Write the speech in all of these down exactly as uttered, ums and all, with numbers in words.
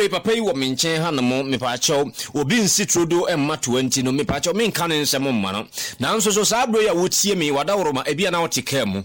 Saa bere papa yi wɔ me nkyɛn ha nom. Mepaakyɛw, obi nsi turodo mma toa nti no, mepaakyɛw, menka ne nsɛm mma no. Nanso so saa bere yi a wotie me, wadaworoma, ebi a na wote kaa mu,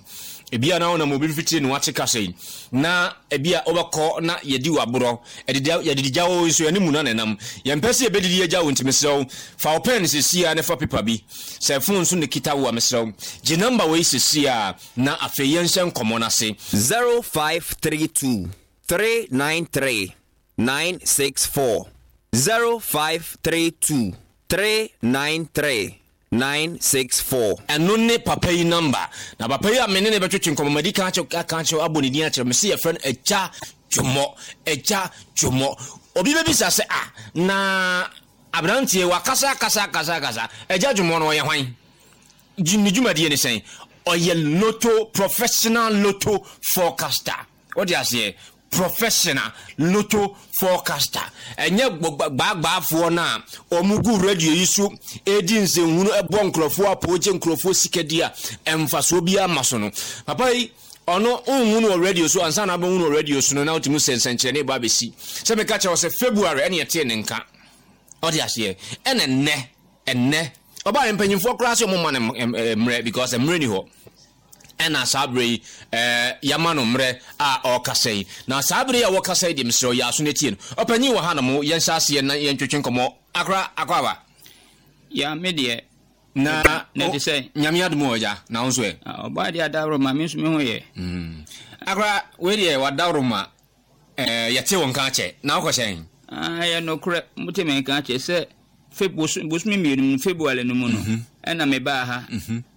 ebi a na wonam obi mfitiri ne wate kasa yi, na ebi a wobɛkɔ na yɛdi w'aborɔ, yɛdidi gya wo nso yɛne mu na nenam. Yɛmpɛ sɛ yɛbɛdidi agya wo, nti mesrɛ wo, fa wo pen sesia ne fa paper bi. Sɛ phone nso ne kita wo a, mesrɛ wo, gye number wei sesia na afei yɛnhyɛ nkɔmmɔ no ase. zero five three two three nine three nine six four, zero five three two three nine three nine six four. Ɛno ne papa yi number. Na papa yi a me ne ne bɛtwetwe nkɔmmɔ, madi ka akyerɛ aka akyerɛ abɔ ne din akyerɛ me sɛ yɛfrɛ no Agya Dwomɔ. Agya Dwomɔ, obi bɛbisa sɛ, "Ah, na aberanteɛ wakasa akasa akasa akasa, Agya Dwomɔ no ɔyɛ hwan? Ne dwumadie ne sɛn?" Ɔyɛ lotto professional, lotto forecaster. Wode aseɛ, professional lotto forecaster. Ɛnyɛ gbaagbaafoɔ no a ɔmo gu radio yi so ɛdi nsɛnhunu, ɛbɔ nkurɔfoɔ apɔ, gye nkurɔfoɔ sika di a ɛmfasoɔ biara ma so no. Papa yi, ɔno nhu no wɔ radio so ansa na abɛhu no wɔ radio so no, na wotumi sɛ nsɛnkyerɛnne ba abɛsi. Sɛ meka kyerɛ wo sɛ February ɛne yɛtee ne nka, ɔde aseɛ, ɛna nnɛ ɛnnɛ ɔbaa mpanyimfoɔ koraa sɛ ɔmo ma no mmerɛ, because mmerɛ ni hɔ. Ɛna saa berɛ yi ɛɛ yɛama no mmerɛ a ɔrekasa yi. Na saa berɛ yi a wɔkasa yi deɛ, mesrɛ yɛ aso no tie no. Ɔpanyin wɔ ha nom, yɛnhyɛ aseɛ na yɛntwetwe nkɔmmɔ. Akora, akɔ aba. Ya, me deɛ. Na na te sɛ Nyame adom wɔ agya, na wo nso ɛ? Ɔbaa deɛ, adaworo ma me nso me ho yɛ. Akora, wei deɛ wadaworo ma ɛɛ yɛte wo nka akyɛ na wokɔ hyɛn. Ɛyɛ nokorɛ, mote me nka akyɛ sɛ bosome mmienu mu, February no mu no, ɛna mebaa ha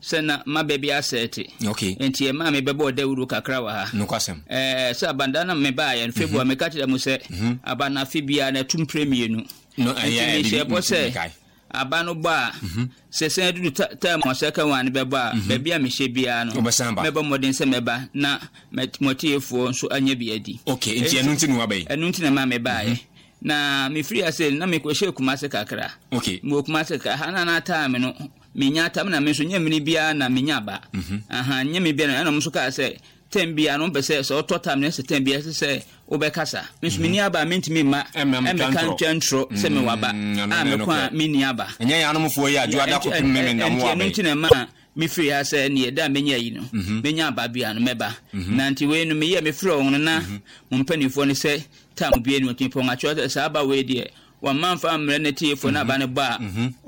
sɛ na maba bi asɛɛte. Okay nti ɛmaa mebɛbɔɔ dawuro kakra wɔ ha. Nokwasɛm. Ɛɛ sɛ abanda na mebaeɛ no February, meka kyerɛ mu sɛ aba no afe biara na ɛto mprɛ mmienu. No. Nti mehyɛ bɔ sɛ aba no bɔ a, sɛ sɛn dudu time a second one bɛbɔ a, baabi a mehyɛ biara no Wobɛsan ba. mɛbɔ mmɔden sɛ mɛba na mɔtiefoɔ nso anya bi adi. Okay, nti ɛno nti na waba yi. Ɛno nti na ma mebaeɛ. Na mefiri ase na mekɔhyɛ Kumase kakra. Okay mewɔ Kumase kakra ha na na time no menya tam na me nso nyɛ mmiri biara na menya aba aha, nyɛ me biara. Ɛna ɔmo nso kaa sɛ time biara no ɔmpɛ sɛ sɛ ɔtɔ tam no sɛ time biara sɛ sɛ wobɛkasa. Me nso menni aba a, mentumi mma ɛmmɛka ntwa ntorɔ sɛ mewɔ aba a mekɔ a menni aba. Ɛnyɛ yɛn anomfoɔ yi adwo ada kɔpem meme nda mo Nti aba ɛno yi. nti na ma mefiri ha sɛ neɛ da a menya yi no, menya aba bia no mɛba. Na nti wei no meyɛ mefrɛ wɔn no na mo mpanimfoɔ no sɛ tam bie no ɔtumi pɔn atwerɛ sɛ saa aba wei deɛ wɔmma mfa mmerɛ ne tiefoɔ no aba no bɔ a,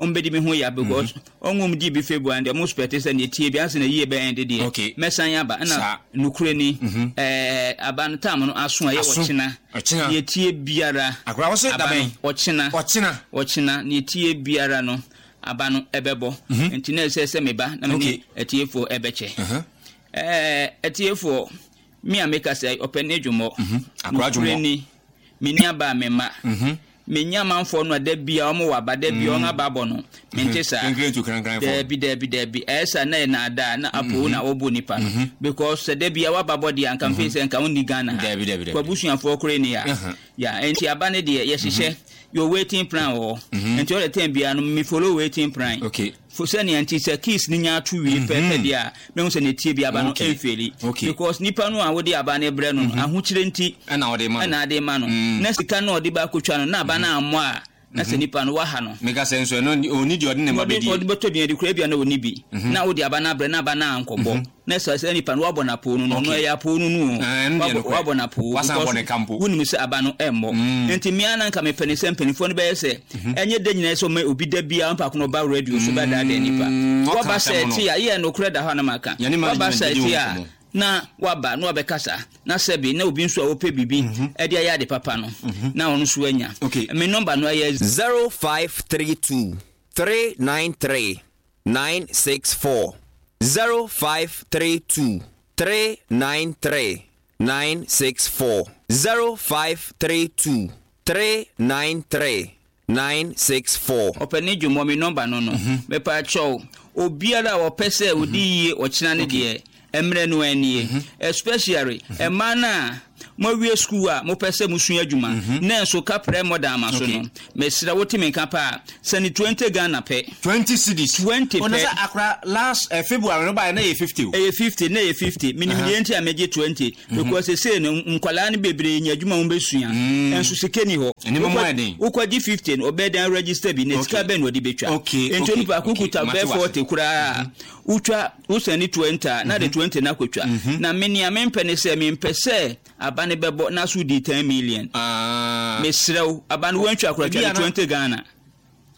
ɔmbɛdi me ho ya, because ɔnwom di bi February deɛ ɔmo expect sɛ neɛ tie bi ansa na yie bɛyɛ de deɛ Okay. mɛsan aba. Ɛna Saa. nokorɛ ni, ɛɛ aba no tam no aso a ɛyɛ Aso. ɔkyena. Ɔkyena. Neɛ tie biara Akora, wo se aba no dabɛn? Ɔkyena. Ɔkyena. Ɔkyena, neɛ tie biara no aba no ɛbɛbɔ. Nti na ɛsɛ sɛ meba na mene Okay. atiefoɔ ɛbɛkyɛ. ɛɛ atiefoɔ, me a meka sɛ ɔpɛ ne dwomɔ. Akora Dwomɔ. Nokorɛ ni, menni aba a mema menya amanfoɔ no a da bia ɔmo wɔ aba, da bia ɔmo aba bɔ no, mente saa. Krenkren tu krankranfoɔ. Daabi, daabi, daabi. Ɛyɛ saa na yɛ naadaa na apo na wɔbɔ nipa no, because sɛ da bia waba bɔ deɛ, anka mfei sɛ nka wonni Ghana ha. Daabi, daabi, daabi. Kwabusuafoɔ kore ni a ya. Nti aba ne deɛ yɛhyehyɛ yɛ waiting plan wɔ hɔ, nti ɔde time biara no me follow waiting plan. Okay. Fo sɛnea nti sɛ keys ni nya ato wie pɛpɛ deɛ a, mehu sɛ ne tie bi aba no Okay. ɛmfeeli. Okay. Because nipa no a wode aba no brɛ no no, ahokyere nti ɛna ɔde ma no. Ɛna ade ma no na sika no a ɔde ba akotwa no na aba no ammɔ a, na sɛ nipa no waha no. Meka sɛ nso ɛno ɔni deɛ ɔde ne ma ɔde bɛdi. Ɔde bɛtɔ duane kura bia na ɔni bi na wode aba no abrɛ na aba no ankɔbɔ na sɛ sɛ nipa no wabɔ n'apoo no no ɔno Okay. ɛyɛ apoo no no o. Ah, ɛno deɛ Wabɔ- nokorɛ. Wabɔ n'apoo Wasan because abɔ ne ka mpo. Wonim sɛ aba no ɛmmɔ, nti mmea na nka mepɛ ne sɛ mpanimfoɔ no bɛyɛ sɛ ɛnyɛ da nyinaa sɛ ɔma obi da biara mpaako na ɔba radio so bɛdaadaa nipa. Ɔka Waba asɛm sɛ no. ti a yɛ nokorɛ da hɔ a na maka. Yɛne Waba management sɛ bɛdi ti ho a nkɔmmɔ. Na waba na wabɛkasa na sɛbi na obi nso a wɔpɛ biribi ɛde ayɛ ade papa no na ɔno nso anya. Okay. Me number no ɛyɛ zero five three two three nine three nine six four, zero five three two three nine three nine six four, zero five three two three nine three nine six four. Ɔpɛ ne dwomɔ, me number no no Mepa kyɛw, obiara a wɔpɛ sɛ ɔdi yie ɔkyena ne deɛ mmerɛ no anie, especially ɛmaa no a Moawie school a mopɛ sɛ mosua adwuma mm-hmm. na nso kaprɛ mmɔda ama so no, mesrɛ wote me nka paa, sɛne twenty Ghana pɛ. twenty cedis. twenty pɛ. Ɔno sɛ akora last uh, February no baeɛ na ɛyɛ fifty o. Ɛyɛ fifty, na ɛyɛ fifty. Menim deɛ nti a megye twenty mm-hmm. because sesei no nkwalaa no bebree nya adwuma wɔn bɛsua mm. Nso sika ni hɔ. Wokɔgye fifty no, ɔbɛyɛ dan register bi na sika bɛn na ɔde bɛtwa. Nti onipa ko kuta bɛɛ forty koraa, wotwa wosɛne twenty a, na de twenty na akɔtwa. Na me nea mempɛ ne sɛ mempɛ sɛ aba ne bɛbɔ na so di ten million. Mesrɛ wo, aba no wantwa koraa, twa ne twenty Ghana.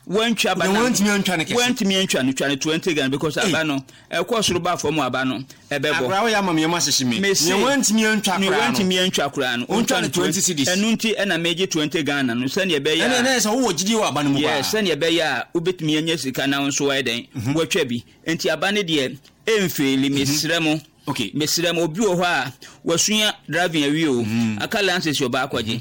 Wantwa aba no, wantumi antwa no kɛse, wantumi antwa no, twa no twenty Ghana because aba no ɛkɔ soro ba fam, aba no ɛbɛbɔ. Akora woyɛ ama mmiɛnma ahyehye me. Mese nea wantumi antwa koraa no, wantumi antwa koraa no, ontwa no twenty cedis. Ɛno nti ɛna megye twenty Ghana no sɛnea ɛbɛyɛ a ɛna ɛna sɛ wowɔ gyidie wɔ aba no mu paa. Yes, sɛnea ɛbɛyɛ a wobɛtumi anya sika na nso ayɛ dɛn watwa bi. Nti aba no deɛ ɛmfeeli, mesrɛ mo. Okay. Mesrɛ mo, obi wɔ hɔ a wasua driving awie o, aka license ɔba akɔgye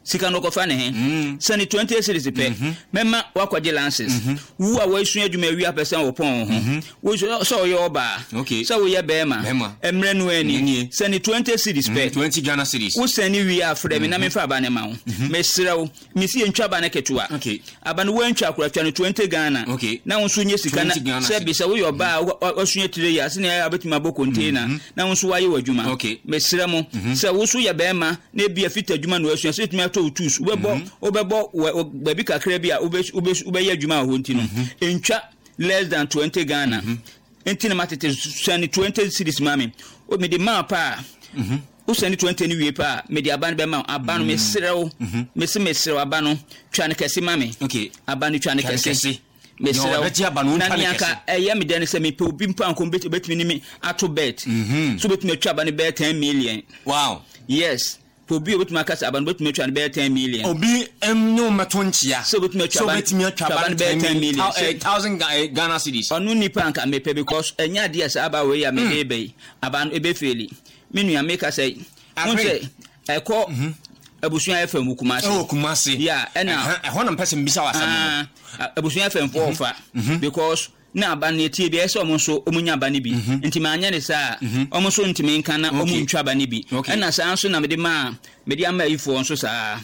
sika no ɔkɔfa ne he, sɛne twenty cedis pɛ, mɛma wakɔgye license. Wo a wasua adwuma awie apɛ sɛ wɔpɔn wo ho, sɛ ɔyɛ ɔbaa, sɛ woyɛ bɛrima, mmerɛ no ani, sɛne twenty cedis pɛ, twenty Ghana cedis. Wosɛne wie afrɛ me na memfa aba ne ma wo. Mesrɛ wo, mesi yɛntwa aba no ketewa. Aba no woantwa akora, twa no twenty Ghana. Na wo nso nyɛ sika na sɛ bi sɛ woyɛ ɔbaa a wasua tire yi a, sɛnea ɛyɛ a wobɛtumi abɔ container na wo nso woayɛ w'adwuma. Mesrɛ mo, sɛ wo nso yɛ bɛrima na ebi a fita adwuma na wasua, sɛ wotumi atɔ wo tools, wobɛbɔ wobɛbɔ baabi kakra bi a wobɛyɛ adwuma wɔ hɔ nti no, ntwa less than twenty Ghana. Nti na matete sɛne twenty cedis ma me. Mede maa paa. Wosɛne twenty no wie paa, mede aba no bɛma wo. Aba no mesrɛ wo, mese mesrɛ wo, aba no twa no kɛse ma me. Aba no twa no kɛse. Mesrɛ wo, na nea nka ɛyɛ me dɛ ne sɛ mepɛ obi mpo anko obɛtumi ne me ato bet. So obɛtumi atwa aba no bɛyɛ ten million. Wow. Yes. Obi obetumi akasa aba no obetumi atwa no bɛyɛ ten million. Obi ne wo mɛto nkyia. Sɛ obetumi atwa aba no bɛyɛ ten million. Thousand Ghana cedis. Ɔno nipa anka mepɛ because ɛnyɛ adeɛ sɛ aba wei a mede bɛyi aba no ebɛfeeli. Me nua meka sɛ hun sɛ ɛkɔ abusua F M Kumasi. Ɛwɔ Kumasi. Yeah, ɛna ɛhɔ na mpɛ sɛ mbisa wɔ asɛm no. Abusua F M fo ɔfa because na aba no etie bi ɛsɛ ɔmo nso ɔmo nya aba no bi. Nti ma anya ne saa ɔmo nso ntumi nka na ɔmo ntwa aba no bi. Ɛna saa nso na mede ma mede ama ayifoɔ nso saa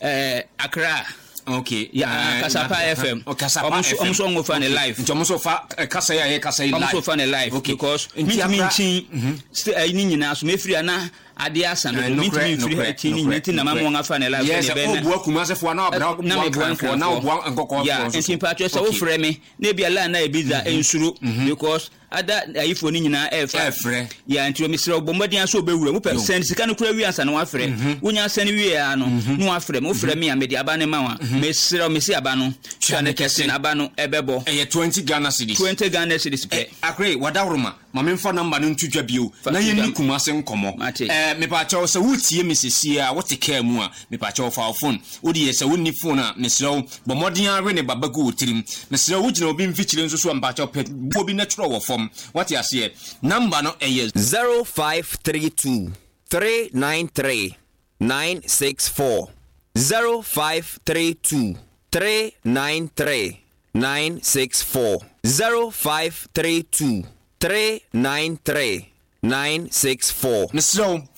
ɛɛ Accra. Okay. Yeah, Kasapa F M. Kasapa F M. Ɔmo nso ɔmo fa ne live. Nti ɔmo nso fa kasa yi a yɛ kasa yi live. Ɔmo nso fa ne live because mintumi nkyin ɛyi ne nyinaa so mefiri ana adeɛ asa no mintumi nfiri ha ti ne nyinaa ti na ma mo afa ne live. Yes, sɛ ɔbua Kumasefoɔ na ɔbua Nkranfoɔ na ɔbua Nkɔkɔɔfoɔ nso. Nti mpatsɔ sɛ wofrɛ me na ebi ala na ebi dza nsuro because ada ayifoɔ no nyinaa ɛɛfa. Ɛɛfrɛ. Ya nti mesrɛ wo bɔ mmɔden aso wobɛwura mu pɛ sɛn sika no kura wie ansa na wafrɛ. Wonya sɛn wie a no na wafrɛ me. Wofrɛ me a mede aba ne ma wa. Mesrɛ wo mesi aba no twa ne kɛse na aba no ɛbɛbɔ. Ɛyɛ twenty Ghana cedis. twenty Ghana cedis pɛ. Akre wadaworoma ma memfa namba no nto dwa bio na yɛnni Kumase nkɔmmɔ. Eh, mepakyɛw sɛ wotie me sesie a wote kaa mu a, mepakyɛw fa wo phone. Wode yɛ sɛ wonni phone a, mesrɛ wo bɔ mmɔden awe ne baba gu wo tirim. Mesrɛ wo wogyina obi mfikyire nso so a, mepakyɛw pɛ buo bi na twerɛ wɔ fam. Wate aseɛ? Namba no ɛyɛ zero five three two three nine three nine six four zero five three two three nine three nine six four zero five three two three nine three nine six four. Mesrɛ wo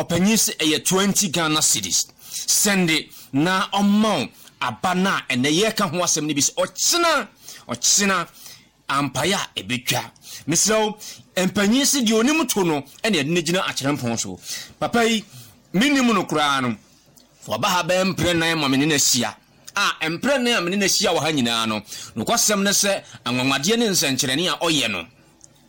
ɔpanyin sɛ ɛyɛ twenty Ghana cedis. Sɛnde na ɔma aba na ɛnɛ yɛka ho asɛm no bi sɛ ɔkyena ɔkyena ampaeɛ a ɛbɛtwa. Mesrɛ wo mpanyin sɛ deɛ onim to no ɛne ɛde no gyina akyerɛmpɔn so. Papa yi menim no koraa no waba ha bɛyɛ mprɛ nan ma me ne no ahyia. A mprɛ nan a me ne no ahyia wɔ ha nyinaa no nokwasɛm ne sɛ anwanwadeɛ ne nsɛnkyerɛnne a ɔyɛ no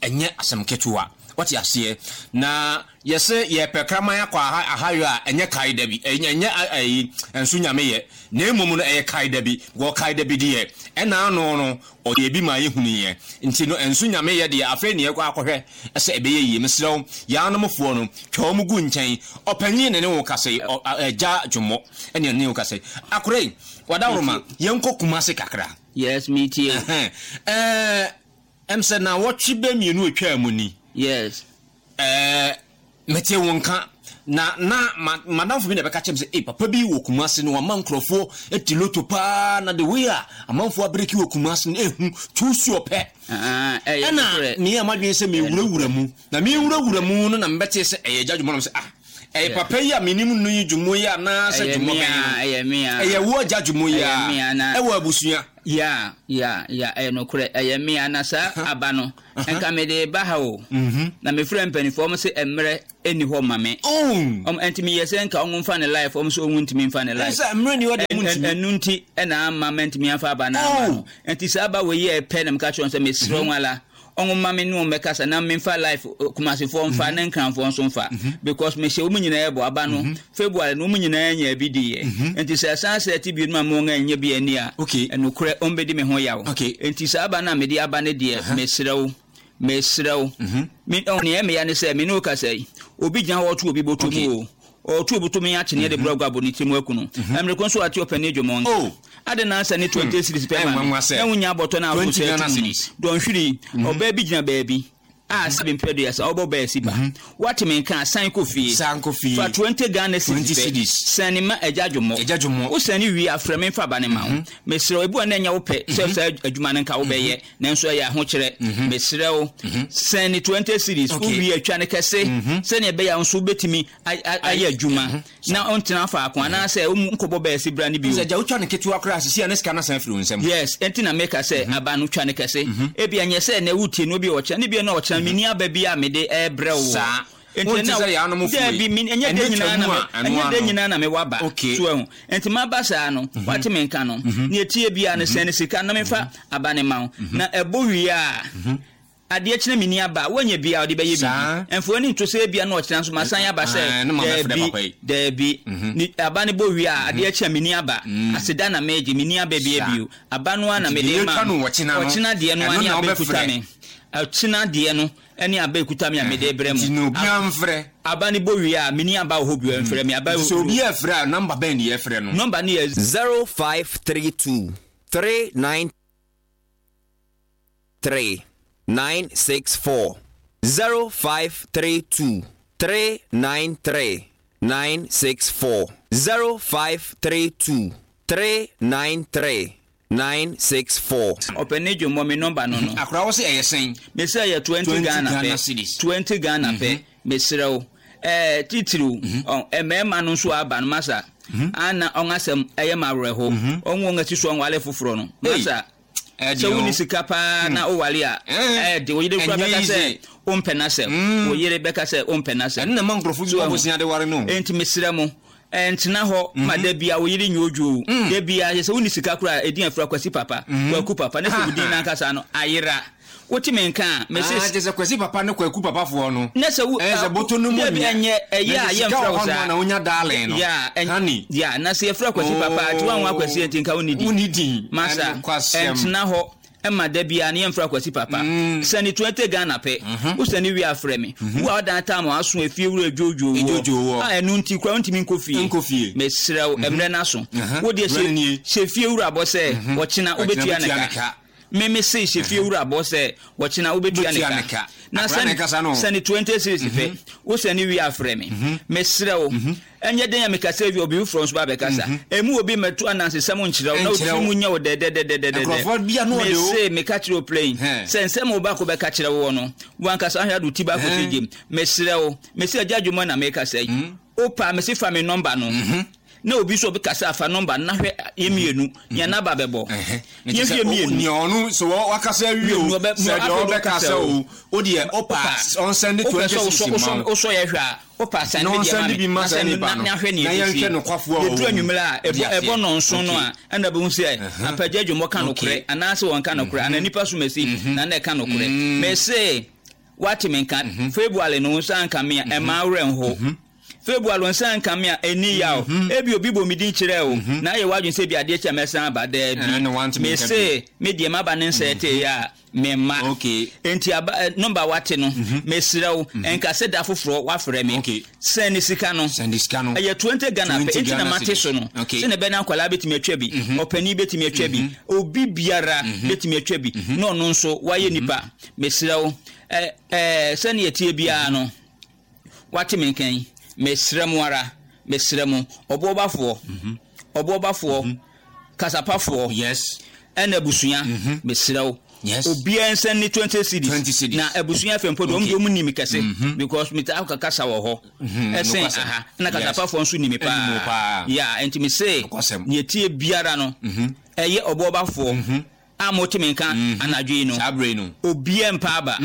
ɛnyɛ asɛm ketewa. Wate aseɛ? Na yɛsɛ yɛpɛ kraman akɔ ahayɔ a ɛnyɛ kae da bi, ɛnyɛ ɛyi nso nyame yɛ na mmom no ɛyɛ kae da bi. Wɔ kae da bi deɛ ɛna ano no ɔyɛ bi ma yɛhunu yɛ nti no nso nyame yɛ deɛ afei ne yɛkɔ akɔhwɛ ɛsɛ ɛbɛyɛ yie. Mesrɛ wo yɛanomfoɔ no twa wɔn gu nkyɛn. Ɔpanyin ne ne wo kasa yi ɛgya dwomɔ ɛne ne wo kasa yi. Akora yi wadaworoma yɛnkɔ Kumase kakra. Yes, me too. Ɛɛ ɛm sɛ na wɔtwe bɛ mmienu atwa mu ni. Yes. Eh, mete wo nka na na madamfo bi na bɛka kyerɛ me sɛ eh papa bi wɔ Kumase no wama nkurɔfoɔ ati loto paa na the way a amanfoɔ abreki wɔ Kumase no ehu tuusuo pɛ. Ah, ɛyɛ ɛna meyɛ m'adwene sɛ mewurawura mu na mewurawura mu no na mebɛte sɛ ɛyɛ gya dwuma no sɛ ah Ɛyɛ papa yi a menim no yi dwumo yi anaasɛ dwumo bɛn no? Ɛyɛ me a. Ɛyɛ wo agya dwumo yi a. Ɛyɛ me a na. Ɛwɔ abusua. Ya, ya, ya, ɛyɛ nokorɛ. Ɛyɛ me a na saa aba no, nka mede ba ha o. Na mefrɛ mpanimfoɔ, wɔn se mmerɛ ɛnni hɔ ma me. Ɔm ɛnti meyɛ sɛ nka ɔmo mfa ne life, ɔmo sɛ ɔmo ntumi mfa ne life. Ɛsɛ mmerɛ ni hɔ de ɔmo ntumi. Ɛnu nti ɛna ama mɛntumi afa aba no ama no. Ɛnti saa aba wei yɛ pɛ na meka kyerɛ wɔn sɛ mesrɛ wɔn ala. Ɔmo ma me ne wɔn bɛkasa na memfa life Kumasefoɔ mfa ne Nkranfoɔ nso mfa because mehyɛ wɔn nyinaa bɔ aba no February no wɔn nyinaa nya bi diiɛ. Nti sɛ ɛsan sɛ ɛte bio no ma wɔn anya bi ani a, ɛnokorɛ wɔn bɛdi me ho yaw. Nti saa aba no a mede aba no deɛ, mesrɛ wo, mesrɛ wo. Me nea ɛmeya ne sɛ me ne wo kasa yi, obi gyina hɔ ɔto obi bɔtɔ mu o. Ɔto obi to me akyeneɛ de brɛ gu abɔ ne tirim aku no. Mmerɛ ko nso ate ɔpɛni dwomɔ nka. Ade na ansa ne twenty series pɛ ma me. Na wonya abɔtɔ no a wotɔ sɛ atum no. Dɔnhwere yi, ɔbaa bi gyina baabi a sɛ mpɛ duasa ɔbɔ bɛɛ si ba. Wate me nka san kɔ fie. Fa twenty Ghana cedis pɛ. Sɛne ma agya dwomɔ. Wo sɛne wie a frɛ me mfa ba ne ma wo. Mesrɛ wo, ebi wɔ na ɛnyɛ wo pɛ sɛ saa adwuma no nka wobɛyɛ nanso ɛyɛ ahokyerɛ. Mesrɛ wo, sɛne twenty cedis wo wie atwa ne kɛse sɛnea ɛbɛyɛ a nso wobɛtumi ayɛ adwuma na ɔntena faako anaasɛ nkɔbɔ bɛɛ si bra ne bio. Sɛ gya wotwa ne ketewa koraa sisi a ne sika no asan afiri wo nsam. Yes, ɛnti na meka sɛ aba no twa ne kɛse. Ebi ɛnyɛ sɛ na wotie no bi ɔkyena ne bi na ɔkyena menni aba bi a mede ɛbrɛ wo. Saa. Wonte sɛ yɛanom fo yi. Ɛnyɛ dɛ nyinaa na mewɔ aba. So ɛho. Ɛnti maba saa no, wate me nka no. Ne etie bia no sɛ ne sika na mefa aba ne ma wo. Na ɛbɔ wie a, adeɛ kyena menni aba, woanya bia ɔde bɛyɛ biribi. Ɛmfa w'ani nto sɛ ebia na ɔkyena nso masan aba sɛ daabi, daabi. Aba no bɔ wie a, adeɛ kyena menni aba. Aseda na megye, menni aba bia bio. Aba no ara na mede ma. Ɔkyena deɛ no ara ne aba ekuta me. Ɔkyena deɛ no ne aba ekuta me a mede brɛ mo. Aba no bɔ wie a, menni aba wɔ hɔ bio, ɛmfrɛ me. Aba sɛ obi ɛfrɛ a, nɔmba bɛn ne yɛfrɛ no? Nɔmba no yɛ zero five three two three nine three nine six four zero five three two three nine three nine six four zero five three two three nine three nine six four. Ɔpɛni dwomɔ mi nɔmba no no. Akora wɔ sɛ ɛyɛ sɛn? Mese ɛyɛ twenty Ghana pɛ. Twenty Ghana pɛ. Mesrɛ wo. Ɛɛ titiriw mmarima no nso aba no masa. Ana ɔn asɛm ɛyɛ ma awerɛho. Ɔn wɔn asi so ɔnwale foforɔ no. Masa. Sɛ wonni sika paa na wowale a, ɛde wo yere kura bɛka sɛ wompɛ n'asɛm. Wo yere bɛka sɛ wompɛ n'asɛm. Ɛno na ɛma nkurɔfo bi bɔ bosea de ware no. Enti mesrɛ mo, ɛntena hɔ ma da bia wo yere nyɛ odwo. Da bia sɛ wonni sika kora ɛdin afira Kwasi papa, Kwaku papa, na sɛ wo din n'ankasa no ayera. Wote me nka a, mese ah, kyerɛ sɛ Kwasi papa ne Kwaku papafoɔ no. Na sɛ wo ɛyɛ sɛ bɔtɔ no mu nyɛ. Ɛnyɛ ɛyɛ a yɛmfrɛ wo saa. Na wonya darling no. Ya, honey. Ya, na sɛ yɛfrɛ Kwasi papa, nti woanwo Akwasi nti nka wonni din. Wonni din. Masa, ɛntena hɔ ɛma da bia ne yɛmfrɛ Kwasi papa. Sɛne twenty Ghana pɛ. Wo sɛne wie afrɛ me. Wo a wodan tam a aso efie wura dwodwo wɔ. A ɛno nti kura wontumi nkɔ fie. Nkɔ fie. Mesrɛ wo, ɛmmerɛ no aso. Wo deɛ hyɛ fie wura bɔ sɛ ɔkyena wobɛtua ne ka. Meme se hyɛ fie wura bɔ sɛ wɔkyena wobɛtua ne ka. Na sɛne twenty series pɛ, wo sɛne wie afrɛ me. Mesrɛ wo, ɛnyɛ den a mekasa wie obi foforɔ nso ba bɛkasa. Ɛmu obi mmɛto anansesɛm nkyerɛ wo na wotiri mu nyɛ wo dɛdɛdɛdɛdɛdɛ. Mese meka kyerɛ wo plain sɛ nsɛm wo baako bɛka kyerɛ wo no, wankasa ahwɛ ade wo ti baako sɛ gyem. Mesrɛ wo, mese agya dwuma na mekasa yi. Wopa mese fa me nɔmba no. Na obi so obekasa afa nɔmba na hwɛ yɛmienu nea naba bɛbɔ. Yɛhwɛ mienu. Nea ɔno so wakasa wie o, sɛ deɛ ɔbɛkasa o, o deɛ ɔpa ɔnsɛnde twenty six ma wo. Wosɔ yɛ hwɛ a, ɔpa sɛnde bi ma me. Na hwɛ nea yɛhwɛ no kwafoɔ o. Yɛduru anwummerɛ a, ɛbɔ nɔnson no a, ɛna bɛhu sɛ apagya dwomɔ ka nokorɛ anaasɛ wɔnka nokorɛ anaa nipa so masi na na ɛka nokorɛ. Mese wate me nka February no nsa nka me a ɛma awerɛ nho. February nsa nka me a ɛni yaw. Ebi obi bɔ me din kyerɛ o. Na ayɛ w'adwene sɛ bi adeɛ kyɛ mɛsan aba daabi. Mese me deɛ maba ne nsa ɛte yɛ a memma. Enti aba nɔmba wate no, mesrɛ wo ɛnka sɛ da foforɔ wafrɛ me. Sɛn sika no. Ɛyɛ twenty Ghana pɛ. Enti na mate so no. Sɛ ne bɛna akwadaa bɛtumi atwa bi. Ɔpanin bɛtumi atwa bi. Obi biara bɛtumi atwa bi. Na ɔno nso wayɛ nipa. Mesrɛ wo ɛɛ sɛnea ɛteɛ biara no wate me nkan. Mesrɛ mo ara, mesrɛ mo, ɔboɔbafoɔ, ɔboɔbafoɔ, kasapafoɔ, yes, ɛna abusua, mesrɛ wo, Yes. Obiara nsa ni twenty cedis. twenty cedis. Na abusua fɛ mpo de, Okay. ɔmo de ɔmo nim kɛse because metaa kasa wɔ hɔ ɛsɛn nokwasɛm. aha na Yes. kasapafoɔ nso nim Ɛnim wo paa. paa. Ya, nti me se Nokwasɛm. nea tie biara no, ɛyɛ ɔbɔɔbafoɔ a mote me nka anadwo yi no, Saa bere no, obiara mpa aba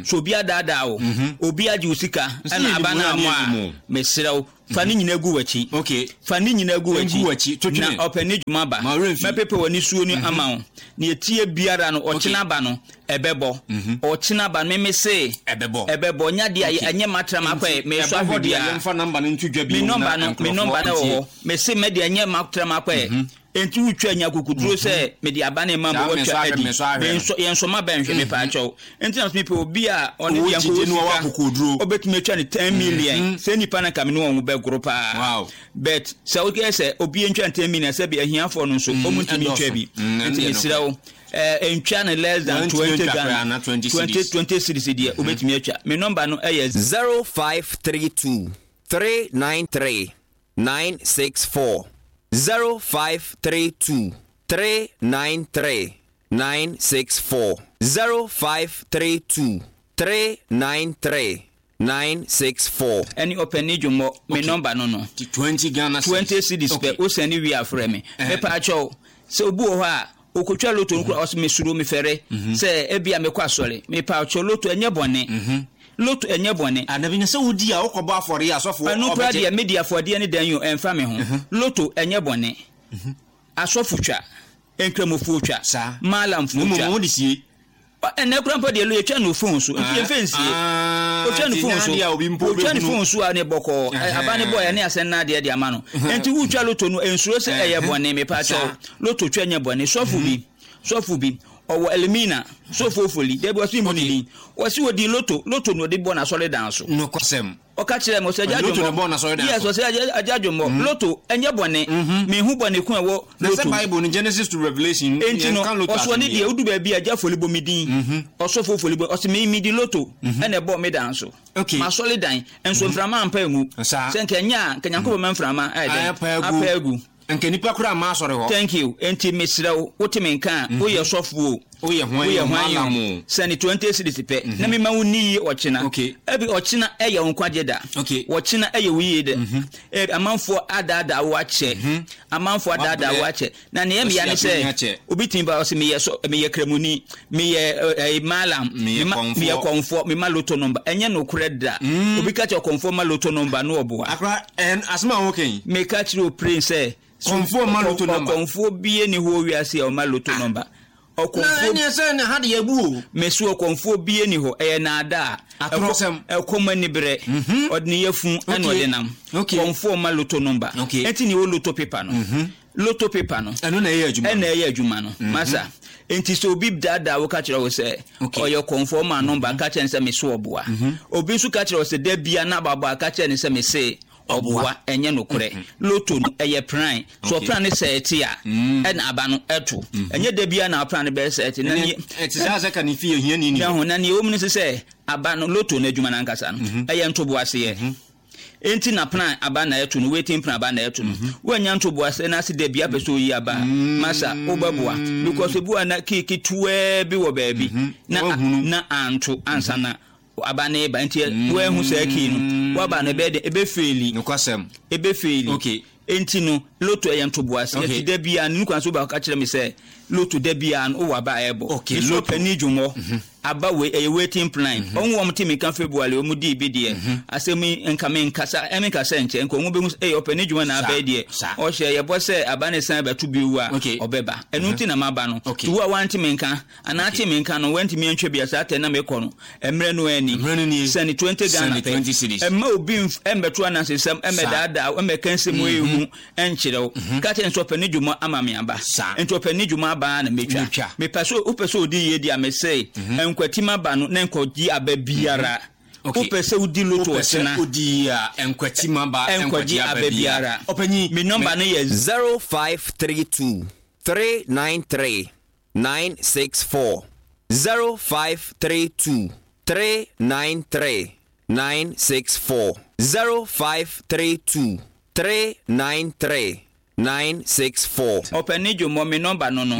so, obi adaadaa wo, obi agye wo sika Nso ɛna yɛ aba nimu no na amɔ ne a, yɛ nimu. mesrɛ wo, fa ne nyinaa gu w'akyi. Okay fa ne nyinaa gu Gu w'akyi, to twene. Na ɔpɛ ne dwuma ba. Ma werɛ mfi. Mɛpepe w'ani suo no ama wo. Ne etie biara no, ɔkyena ba no ɛbɛbɔ, ɔkyena ba no, meme se Ɛbɛbɔ. ɛbɛbɔ. Nya deɛ Okay. ɛnyɛ matra makɔ ɛ mesɔ Ɛbɛbɔ ahwɛ deɛ, biara. yɛmfa number no nto dwa Me bio nɔmba na no, me nkurɔfoɔ nɔmba no wɔ ntie. hɔ. Mese mɛde ɛnyɛ matra makɔ ɛ enti wotwa nya kukuduro sɛ mede aba ne ma Saa ma mensɔ wɔtwa ahwɛ, adi. mensɔ ahwɛ no. Mensɔ- yɛnsɔ ma bɛnhwɛ, mepa akyɛw. Nti na mepɛ obi a ɔne Ɔwɔ deɛ gyidie nkɔwɔ na ɔwɔ sika, akokoduro. ɔbɛtumi atwa ne ten million sɛ nipa no nka me ne wɔn bɛgoro paa. Wow. But sɛ wokɛ sɛ obi ntwa ten million, sɛ bi ahiafoɔ no nso ɔmu ntumi ɛdɔɔso. ntwa bi. Mm, Nti ɛno deɛ. mesrɛ wo, ɛɛ, ntwa no less than Wɔntumi twenty ntwa koraa Ghana na twenty twenty cedis. twenty cedis deɛ, wobɛtumi atwa. Me nɔmba no ɛyɛ zero five three two three nine three nine six four, zero five three two three nine three nine six four, zero five three two three nine three nine six four. Ɛne ɔpɛni dwomɔ, me nɔmba no no twenty Ghana cedis. twenty cedis Okay. pɛ, wosɛne wie afrɛ me. Mepa akyɛw, sɛ obi wɔ hɔ a okotwa loto no kora, ɔsɛ mesuro, mefɛre sɛ ebia mekɔ asɔre. Mepa akyɛw, loto ɛnyɛ bɔne, loto ɛnyɛ bɔne. Anabi na sɛ wodi a, wokɔbɔ afɔre a, asɔfoɔ Ɛno kora ɔbɛgye. deɛ, medi afɔdeɛ ne dan yi o, ɛmfa me ho. Loto ɛnyɛ bɔne, asɔfo twa, nkramofoɔ twa, Saa. maalamfoɔ Mmom twa. wode sie. Ɔ- ɛnɛ kora mpo deɛ, lo yɛtwa no phone so, nti yɛmfɛ nsie. Ah, Otwa ne nti phone nyɛ so adeɛ a obi mpo otwa ne bɛhunu. phone so a, ne bɔkɔɔ. Ɛhɛn. Aba ne bɔɔ ne asɛn na adeɛ de ama no. Nti wotwa loto no, nsuro sɛ ɛyɛ bɔne. Mepa kyɛw, Saa. loto twa nyɛ bɔne. Sɔfo bi sɔfo bi ɔwɔ Elimina, sɔfo Ofoli dabi, ɔsi mu ne din, wɔsi odi loto loto na ɔde bɔ n'asɔre dan so. Nokwasɛm. Ɔka kyerɛ me ɔsɛ agya Loto na dwomɔ bɔ n'asɔre dan Yes. so. Ɔsɛ agya agya dwomɔ, loto ɛnyɛ bɔne. Mehu bɔne ko ɛwɔ Na sɛ loto. Bible no, Genesis to Revelation, Enti no yɛnka loto ɔsoɔ ne asɛm deɛ, wodu baabi a, agya foli bɔ me din, ɔsɔfo foli bɔ, ɔsɛ me medi loto ɛna ɛbɔ me dan so. Okay. Masɔre dan nso, mframa ampa egu. Saa. Sɛ nka ɛnyɛ a, nka Nyankopɔn ma mframa ayɛ dɛn? Apa agu. Apa agu. Nka nipa koraa ma asɔre hɔ. Thank you. Enti mesrɛ wo, wote me nka a, woyɛ sɔfo o, Woyɛ hwan woyɛ o, hwan malam o, o. Sɛne twenty cedis pɛ na mema wo ni yie ɔkyena. Okay. Ebi ɔkyena ɛyɛ wo nkwagye da. Okay. Ɔkyena ɛyɛ wo yie dɛ. Ebi amanfoɔ adaadaa wo akyɛ, amanfoɔ adaadaa wo Wabrɛ. akyɛ, na nea mmea ne Ɔsi sɛ apini akyɛ. Obi tumi ba, ɔsɛ meyɛ sɔ, meyɛ kramoni, meyɛ ɛɛ malam, Meyɛ mema- kɔmfoɔ. Meyɛ kɔnfoɔ, mema loto number. Ɛnyɛ nokorɛ da. Obi ka kyerɛ kɔnfoɔ ma loto number no, ɔboa. Akora ɛn asɛm a woka yi. Meka kyerɛ o pray sɛ Kɔmfoɔ ma loto number. Ɔkɔmfoɔ bie ni hɔ wiase a ɔma loto number. Na Ɔkɔmfoɔ ɛneɛ sɛ ne ha de yɛbu o. Mesu ɔkɔmfoɔ bie ni hɔ, ɛyɛ naada a Atorɔsɛm. Ɛkɔm ani berɛ, ɔde ne yɛfu ɛna Okay. ɔde nam. Okay. Kɔmfoɔ ma loto number. Okay. Ɛnti ne wɔ loto paper no, loto paper no Ɛno na ɛyɛ adwuma. Ɛna ɛyɛ adwuma no, masa. Nti sɛ obi daadaa wo ka kyerɛ wo sɛ Okay. ɔyɛ kɔmfoɔ ma number, ka kyerɛ no sɛ mese ɔboa. Obi nso ka kyerɛ wo sɛ da bia na ababɔ a, ka kyerɛ no sɛ mese ɔboa. Ɛnyɛ nokorɛ. Loto no ɛyɛ plan so. Okay. Ɔplan no sɛ ɛte a, ɛna aba no ɛto. Ɛnyɛ da bia na ɔplan no bɛyɛ sɛ ɛte na Ɛne- neɛ- ɛte saa sɛ ka ne fie hiani ni. Na ho na neɛ ɛwɔ mu no sɛ sɛ aba no, loto no adwuma no ankasa no ɛyɛ ntoboaseɛ. Enti na plan aba na ɛto no, waiting plan aba na ɛto no. Woanya ntoboaseɛ na ase da bia pɛ sɛ oyi aba a, masa wobɛboa, because ebi wa na kii ketewaa bi wɔ baabi na Woahunu. na anto ansa na aba ne ba. Nti woahu saa kii no, woaba no ɛbɛyɛ dɛ ɛbɛfail. Nokwasɛm. Ɛbɛfail. Okay. Enti no loto ɛyɛ ntoboaseɛ. Okay. Nti da bia no nukwan so wobɛka kyerɛ me sɛ loto da bia no wowɔ aba a ɛbɔ. Okay, Nso loto. ɔpani dwomɔ aba wei ɛyɛ waiting plan. Ɔmo wɔn te mi ka February ɔmo di bi deɛ, asɛm yi nka mi nkasa, ɛmi nkasa nkyɛn nka ɔmo bɛhu sɛ ɛyɛ ɔpani dwomɔ na Saa, abɛɛ deɛ saa. ɔhyɛ yɛbɔ sɛ aba ne san bɛto bi wu a, Okay. ɔbɛba. Ɛno nti na maba no. Okay. Ti wo a wante mi nka anaa te mi nka no, wantumi antwa bi a, saa tɛ na mekɔ no, mmerɛ no ani. Mmerɛ no nie. Sɛne twenty Ghana Sɛne pɛ. twenty cedis. Ɛmma obi mf- ɛmbɛto anansesɛm, ɛmmɛdaadaa, ɛmmɛka nsɛm ɛhu ɛnkyerɛ wo. Ka kyerɛ nso ɔpɛ ne dwuma ama me aba. Saa. Nti ɔpɛ ne dwuma aba na metwa. Metwa. Mepɛ sɛ wopɛ sɛ odi yie di a, mesɛ nkwatim aba no na nkɔgye aba biara. Okay. Wopɛ sɛ wodi loto Wopɛ sɛ ɔkyena, wodi a, nkwati ma ba. ɛnkɔgye aba biara. Ɔpanyin, me nɔmba no yɛ zero five three two three nine three nine six four, zero five three two three nine three nine six four, zero five three two three nine three nine six four. Ɔpɛni dwomɔ, me nɔmba no no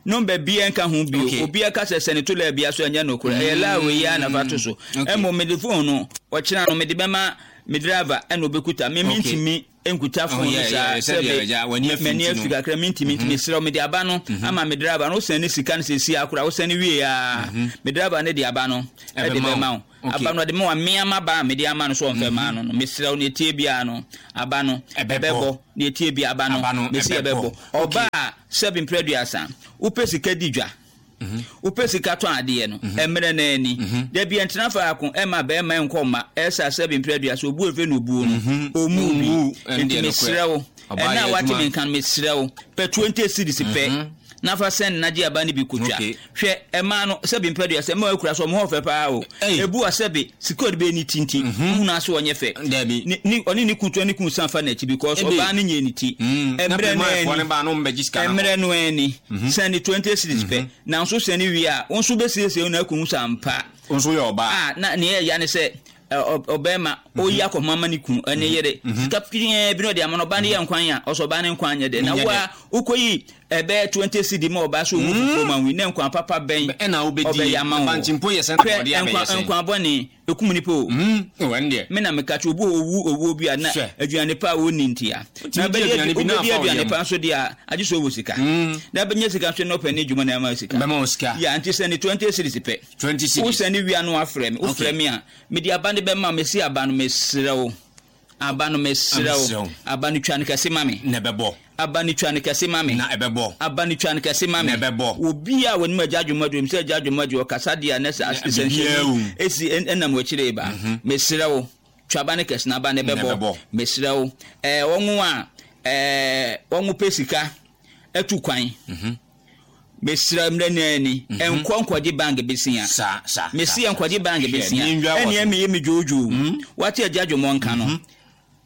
Number bia nka ho bio. Okay. Obi aka sɛ sɛne to laa bia so ɛnyɛ nokorɛ. Ɛyɛ laa wei yi a na fa to so. Okay. Ɛmmom mede phone no ɔkyena no mede bɛma me driver ɛna obɛkuta. Me Okay. mentumi nkuta Oh, phone no yeah, saa yeah, sɛdeɛ sɛbe agya, w'ani afi m'ani nti no. afi kakra mentumi nti mesrɛ wo mede aba no ama me driver no. Wosɛne sika no seesei akora wosɛne wie a me driver no de aba no ɛde Ɛbɛma wo. bɛma wo. Okay. Aba no ɔde ma wa mmea ma ba a mede ama no so ɔmfɛ maa no no. Mesrɛ wo ne ɛtie biara no aba no Ɛbɛbɔ. ɛbɛbɔ. Ne ɛtie biara aba no Aba no mesi ɛbɛbɔ. ɛbɛbɔ. Ɔba a sɛbi mprɛ aduasa wopɛ sika di dwa, wopɛ sika tɔn adeɛ no ɛmmerɛ no ani dabi ɛntena faako ɛma bɛrima nkɔ mma ɛsa sɛbi mprɛ aduasa obu efe na obuo no ɔmu Ɔmmu, bi. ɛno Nti deɛ nokorɛ. mesrɛ wo Ɔbaa ɛna yɛ a wate adwuma. me nka no mesrɛ wo pɛ twenty cedis pɛ na fa sɛn na gye aba no bi kotwa. Okay. Hwɛ ɛmaa no sɛbi mprɛ aduasa ɛma akura so ɔmo hɔ fɛ paa o. Ei. Ebu a sɛbi sika ɔde bɛyɛ ne ti nti wohunu ase ɔnyɛ fɛ. Dabi. Ne- ne- ɔne ne kun to ne kun san fa n'akyi because Ebe. ɔbaa no nyɛ ne ti. Mm. Na Ɛmmerɛ no pɛrɛmanfoɔ ani no ba no mbɛgye sika no kɔ. mmerɛ no ani sɛne twenty cedis pɛ nanso sɛne wie a wo nso bɛsiesie wo na akɔhu sɛ ampa Wo nso yɛ ɔbaa. a na neɛ ɛya ne sɛ ɛ, ɔ- ɔbɛrima ɔyi akɔhoma ma ne kunu ɛne yere sika pii bi na ɔde ama no ɔba no yɛ nkwan a ɔsɛ ɔba ne nkwan nyɛ dɛ na Nyɛ wo a wokɔyi ɛbɛyɛ twenty cedi ma ɔba so ɔmu fufuo ma wi ne nkwan papa bɛn Ɛna wobɛdi. ɔbɛyɛ ama wo. Bankye mpo yɛ sɛn Hwɛ, na ɔde abɛyɛ nkwan sɛn? nkwan bɔne ɛkum nipa o. Mm, oh, ɛno deɛ. Me na meka kyerɛ obi wɔ owu owuo bi a na Hwɛ. aduane pa a wɔnni ntia na Wotumi di bɛdi aduane bi na wobɛdi afa wo aduane yam. pa nso deɛ a agye sɛ ɔwɔ sika na bɛnya sika nso na ɔpɛ ne adwuma na ɛma wo sika. Bɛma wo sika. Ya nti sɛ ne twenty cedis pɛ twenty cedis. wosɛne wia no wafrɛ me wofrɛ Okay. me a mede aba no bɛma mesi aba no mesrɛ wo aba no mesrɛ Mesrɛ wo wo. aba no twa no kɛse ma me. Na ɛbɛbɔ. Aba no twa no kɛse ma me. Na ɛbɛbɔ. Aba no twa no kɛse ma me. Na ɛbɛbɔ. Obi a wɔnim agya adwuma deɛ sɛ agya adwuma deɛ ɔkasa deɛ a ne sɛ biribiara wɔ mu. nsɛnkyerɛnne esi ɛn- ɛnam akyire ba mesrɛ wo twa aba no kɛse na aba no Na ɛbɛbɔ. ɛbɛbɔ. Mesrɛ wo ɛɛ wɔn a ɛɛ wɔn pɛ sika ɛtu kwan mesrɛ mmerɛ nyinaa ni ɛnkɔ nkɔgye bank besia. Saa, saa. Mesi saa. nkɔgye bank Hwɛ, besia ne ndwa wɔ ɛnea so. meyɛ me dwoodwoo wate agya adwuma nka no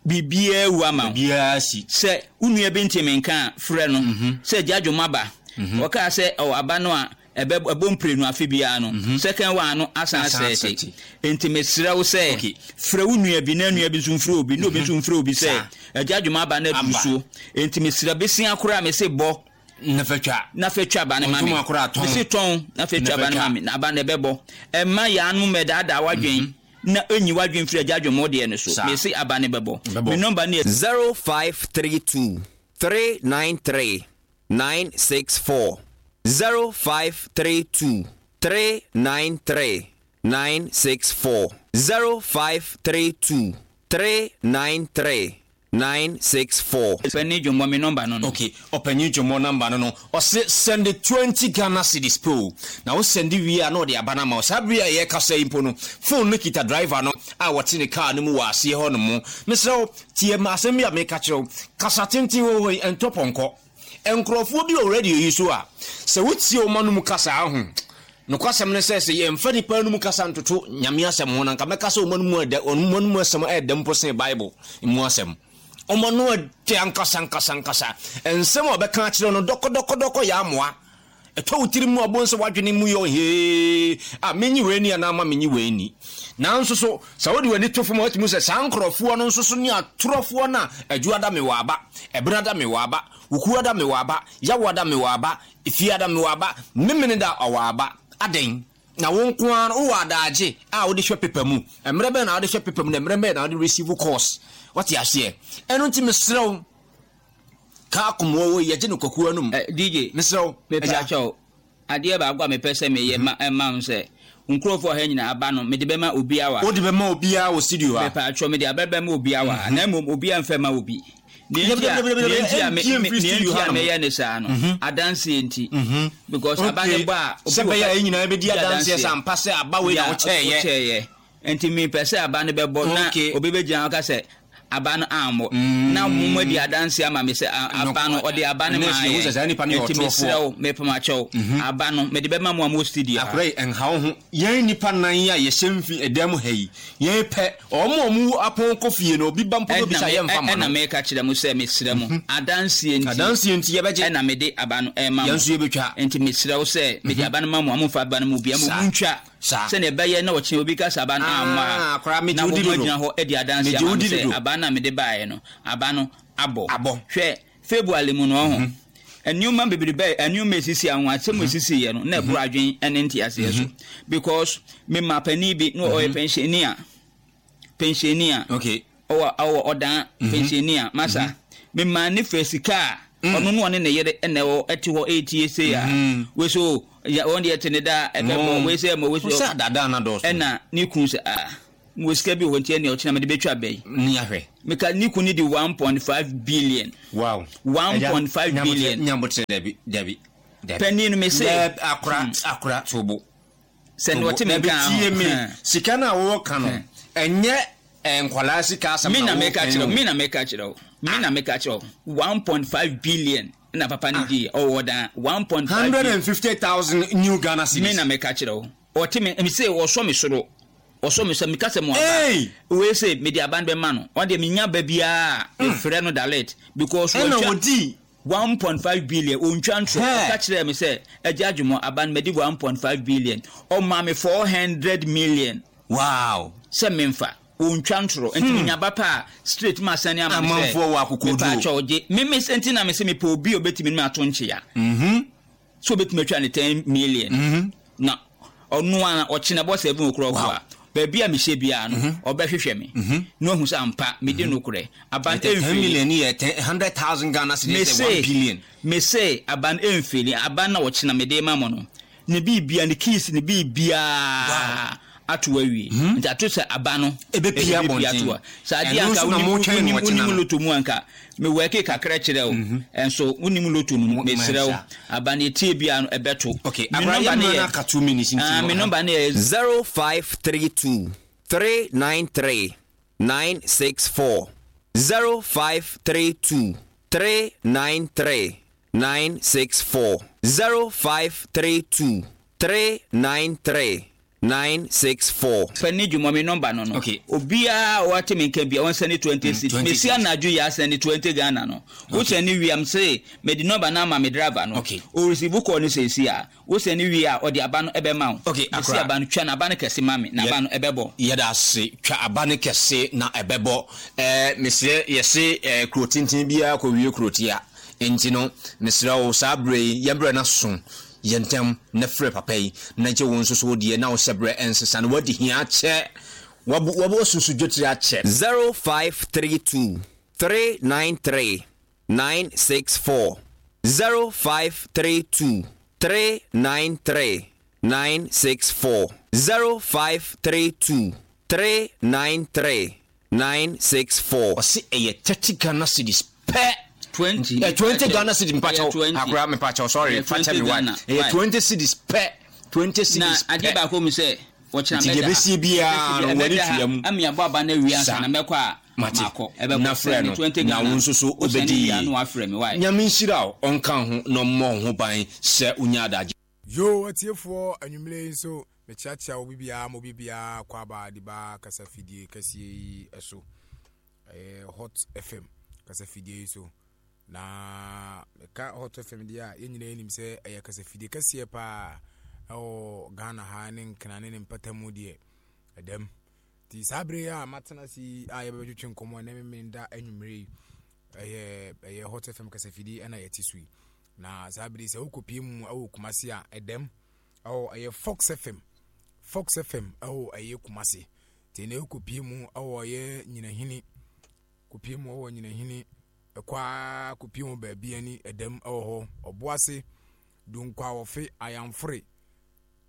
biribiara wu ama wo. Biribiara si. Sɛ wo nua bi ntimi nka a frɛ no sɛ agya adwuma ba ɔkaa sɛ ɔwɔ aba no a ɛbɛ ɛbɔ mprenu afe biara no second one no asan Asan asɛte. asɛte. Nti mesrɛ wo sɛ Okay. frɛ wo nua bi na nua bi nso mfrɛ obi na obi nso mfrɛ obi sɛ Saa. agya adwuma aba no aduru Aba. so nti mesrɛ besia koraa mese bɔ Na fa twa. na fɛ twa aba no ma me. Ntoma koraa tɔn. Mese tɔn na fɛ twa Na aba fɛ no ma twa. me na aba no ɛbɛbɔ ɛma yɛanom mɛdaadaa wadwen na ɛnyi wadwen firi agya adwuma deɛ no so. Saa. Mese aba no bɛbɔ. Bɛbɔ. Me nɔmba no yɛ zero five three two three nine three nine six four zero five three two three nine three nine six four zero five three two three nine three nine six four. Ɔpɛni dwomɔ me nɔmba no no. Okay, ɔpanyin dwomɔ namba no no ɔse send twenty Ghana cedis po na wo send wie a na ɔde aba no ama wo. Saa bere a yɛkasa yi mpo no phone no kita driver no a wɔte ne car no mu wɔ aseɛ hɔ no mu. Mesrɛ wo tie ma asɛm bi a meka kyerɛ wo kasa tenten wɔ hɔ yi ɛntɔ pɔnkɔ. Nkurɔfoɔ bi wɔ radio yi so a sɛ wotie wo ma no mu kasa ho nokwasɛm ne sɛ sɛ yɛmfa nipa no mu kasa ntoto Nyame asɛm ho na nka mɛka sɛ ɔma no mu ɛdɛ ɔma no mu asɛm ɛɛdɛ mpo sen Bible mu asɛm. Ɔma no ɛdɛ ankasa ankasa ankasa nsɛm a ɔbɛka akyerɛ no dɔkɔdɔkɔdɔkɔ yɛ amoa ɛtɔ wo tiri mu a bɔn sɛ woadwene mu yɛ hee a menyi wei ni anaa ma menyi wei ni. Nanso so sɛ wode w'ani to fam a watumi sɛ saa nkurɔfoɔ no nso so ne atorɔfoɔ no a adwua da mewɔ aba ɛbena da mewɔ aba wukuwa da mewɔ aba yawoa da mewɔ aba efie da mewɔ aba memene da ɔwɔ aba adɛn na wo nko ara no wowɔ adagye a wode hwɛ pepa mu mmerɛ bɛn na wode hwɛ pepa mu na mmerɛ bɛn na wode receive course wate aseɛ. Ɛno nti mesrɛ wo kaa komoa wɔ yi yɛgye no kwakuo anom. Eh, D J. Mesrɛ wo mepɛ agya. akyɛw adeɛ baako a mepɛ sɛ meyɛ ma ɛma wo sɛ nkurɔfoɔ ha nyinaa aba no mede bɛma obiara wa. Wode bɛma obiara wɔ studio ha. Mepɛ atwɔ mede aba bɛma obiara wa na mmom obiara mfɛ ma obi. Nea Dabi, nti a dabi, dabi, dabi, nea nti a me- ɛmpie me- mfiri nea studio nti a ha nom. meyɛ ne saa no adanseɛ nti because aba ne bɔ a obi sɛ wɔ bɛyɛ a ka- yɛn nyinaa bɛdi di adanseɛ sɛ ampa sɛ aba wei na Ya, wokyɛɛyɛ. wokyɛɛyɛ nti mepɛ sɛ aba no bɛbɔ na Okay. obi bɛgyina hɔ ka sɛ aba no ammɔ na mo adi adanseɛ ama me sɛ a- aba no ɔde aba no Ɛnɛ maa sɛ yɛhu sɛ saa nipa no yɛ nti ɔtorɔfoɔ. mesrɛ wo mepamakyɛw aba no mede bɛma mo a mo studio ha. Akora yi ɛnha wo ho yɛn nipa nan yi a yɛhyɛ mfi ɛdan mu ha yi yɛn pɛ ɔmo a ɔmo apɔn kɔ fie no obi ba mpo no bisa yɛmfa ma ɛna no. meka kyerɛ mo sɛ mesrɛ mo adanseɛ nti Adanseɛ nti yɛbɛgye. Ɛna mede aba no ɛma mo. Yɛn nso yɛbɛtwa. Nti mesrɛ wo sɛ mede aba no ma mo a momfa aba no mu bia mo Saa. montwa Saa. sɛnea ɛbɛyɛ na ɔkyena obi ka sɛ aba no Ah, amma akora, megye na wo di dodo. mogyina hɔ adi adanseɛ Megye ama wo me di sɛ dodo. aba no a mede baeɛ no aba no abɔ. Abɔ. Hwɛ February mu no ɔho Nneɛma bebrebe, nneɛma esisi anwasɛm esisi yɛ no na ɛboro adwen ɛne nteaseɛ so, because me ma panin bi na ɔyɛ pensioner pensioner Okay. Ɔwɔ ɔwɔ ɔdan pensioner masa. Me ma ne fɛ sika a ɔno no ɔne ne yere ɛna ɛwɔ ɛte hɔ ɛretie se a wei so ya wɔn deɛ te ne da ɛbɛbɔ wei sɛ ɛmɔ wei so sɛ dada na dɔɔso. Ɛna ne kun sɛ, ah, mo sika bi wɔ hɔ, nti ɛnea ɔkyena mede bɛtwa bɛyi. Ni ahwɛ. Meka ne kun ne di one point five billion. Wow. one point five billion. Nyabotrɛ, dabi, dabi, dabi. Panin no me se Dabi, akora, akora tobo. Sɛ ne ɔte me Dabi, nka tie me. ho. Sika no a wɔwɔ no, ɛnyɛ eh, nkwadaa sika asɛm. Me na wɔka meka kyerɛ wo, yi o. Me na meka kyerɛ wo, me na meka kyerɛ wo, one point five billion na papa ne di ɔwɔ dan one point five hundred and fifty thousand new Ghana cedis. Me na meka kyerɛ wo, ɔte me me se ɔsɔ me soro, ɔsɔ me sɛ meka sɛ mo aba Hey! wei sɛ mede aba no bɛma no. Ɔno deɛ, menya ba biara mefrɛ no direct because ɛna wɔntwa wɔdi one point five billion, ontwa ntorɔ. Hey. Ɔka kyerɛ me sɛ, "Agya Adwumɔ, aba no madi one point five billion." Ɔma me four hundred million wow sɛ memfa. Ontwa ntorɔ, nti menya ba pa a straight ma asane ama me sɛ Amanfoɔ wɔ akokoduro. mepa akyɛw gye me me nti na me sɛ mepɛ obi a obɛtumi ne me ato nkyea sɛ obɛtumi atwa ne ten million na ɔno a ɔkyena bɔ seven o'clock a, baabi a mehyɛ biara no, ɔbɛhwehwɛ me na ohu sɛ ampa mede nokorɛ aba no. Ten ɛmfiri million yɛ ten hundred thousand Ghana cedis, sɛ one mese billion. Mese aba no ɛmfiri aba no na ɔkyena mede ma mo no, ne biribia, ne keys, ne biribiaa ato awie, nti ato sɛ aba no Ɛbɛpue ɛbɛpue abɔnten. ato a sɛ adeɛ Ɛno anka nso na wonim motwɛn no wonim ɔkyena wonim no. Lotto mu anka mewɔɛke kakra kyerɛ wo, ɛnso wonim lotto no mu. Mesrɛ wo, Mansa. Aba no ɛtie bia no ɛbɛto. Okay, Me abra number yɛ ne mmerɛ yɛ no aka two minutes nti Ah, no, me number ne yɛ zero five three two three nine three nine six four zero five three two three nine three nine six four zero five three two three nine three nine six four. Fani dwuma, me number no no Okay. Obiara a wate me nka bia, wɔnsɛne twenty cedis. twenty Mesi cedis. anadwo yɛ asɛne twenty Ghana no, wosɛne wie am se mede number no ama me driver no. Okay. Ɔreceive call no seesi a, wosɛne wie a, ɔde aba no ɛbɛma wo. Okay, mesi akora. Aba no, twa no, aba no kɛse ma me na aba no ɛbɛbɔ. Yɛda ase. Twa aba no kɛse na ɛbɛbɔ. ɛɛ mesrɛ, yɛse ɛɛ kuro tenten biara kɔwie kuro tia, nti no mesrɛ wo, saa berɛ yi yɛmbrɛ no so yɛ ntɛm na frɛ papa yi na gye wo nso so wodeɛ na wo hyɛ berɛ ɛnsesa no wadi hia akyɛ, wabu wabu asusu dwetire akyɛ. zero five three two three nine three nine six four zero five three two three nine three nine six four zero five three two three nine three nine six four. Ɔse ɛyɛ thirty Ghana cedis pɛ. twenty. Eh, twenty Ghana cedis, mepakyɛw. Ɛyɛ twenty. Akora, mepakyɛw, sorry. Ɛyɛ fakyɛ twenty me wa Ghana. ɛyɛ Why? twenty cedis pɛ, twenty Na cedis adeɛ pɛ. baako mu sɛ wɔkyena Nti deɛ ɛbɛsie biara no, w'ani tua mu. ami abɔ aba no awie ansa Saa. na mɛkɔ a Mate. makɔ. Ɛbɛbɔ Na frɛ sɛne no twenty na Ghana. wo nso so Wosɛne wobɛdi wie a yie. na wafrɛ me wae. Nyame nhyira wo, ɔnka ho na ɔmmɔ wo ho ban sɛ wonya adagye. Yo, atiefoɔ, anwummerɛ yi nso mekyeakyea wo bibiaa ma obibiaa kɔ aba de ba kasafidie kɛseɛ yi so, ɛyɛ Hot F M kasafidie yi so. Na meka Hot F M deɛ a, yɛn nyinaa nim sɛ ɛyɛ kasafidie kɛseɛ paa ɛwɔ Ghana ha ne Nkena ne ne mpatamu deɛ ɛdɛm. Nti saa bere yi a matena ase yi a yɛbɛbɛtwetwe nkɔmmɔ ɛnɛ memenda anwummerɛ yi, ɛyɛ ɛyɛ Hot F M kasafidie ɛna yɛte so yi. Na saa bere yi sɛ wokɔpie mu ɛwɔ Kumase a, ɛdɛm ɛwɔ ɛyɛ Fox F M, Fox F M ɛwɔ ɛyɛ Kumase. Nti na wokɔpie mu ɛwɔ ɛyɛ Nyinahini, kɔpie mu ɛwɔ Nyinahini, ɛkɔ a kɔpie mu baabi ani ɛdɛm ɛwɔ hɔ, Ɔboase, Dunkwa-Wɔfe, Ayamfore